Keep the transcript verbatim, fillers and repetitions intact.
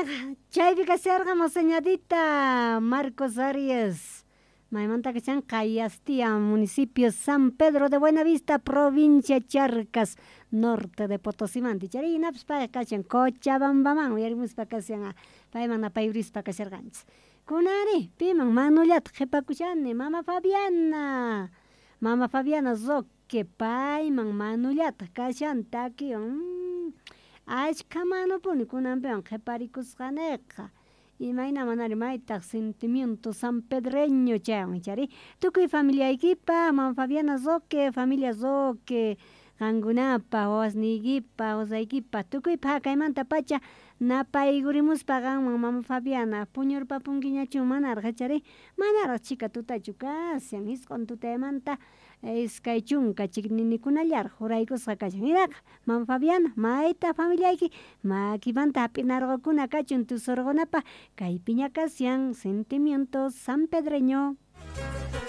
Chayqa chaypi kasharqa moseñadita Marcos Arias maymanta kashan Cayastía, municipio San Pedro de Buenavista, provincia Charcas, norte de Potosímanta ichari hinapis payqa kashan Cochabambaman uyarimuspa kashan payman napayurispa kasharqanchis. Kunanri piman manullata qhipakushani mama Fabiana, mama Fabiana Roque payman manullata kashan takiwan ashkha manupuni kunanpiwan qhiparikusqaneqa imayna manari maytaq sentimiento sanpedreño chaywan ichari tukuy familiaykipa mama Fabiana Roque, familia Roque qankunapa wawasniykipa qusaykipa tukuypa kaymanta pacha napaykurimuspa qanman mama Fabiana puñurpapunkiñachu manaraq ichari manaraq chhika tutachu kashan isq'un tutaymanta iskay chunka chikninikunallaraq uraykusqa kashan hinaqa mama Fabiana mayta familiayki makimanta hap'inarqukuna kachun tusurqunapaq kaypiña kashan sentimiento sanpedreño.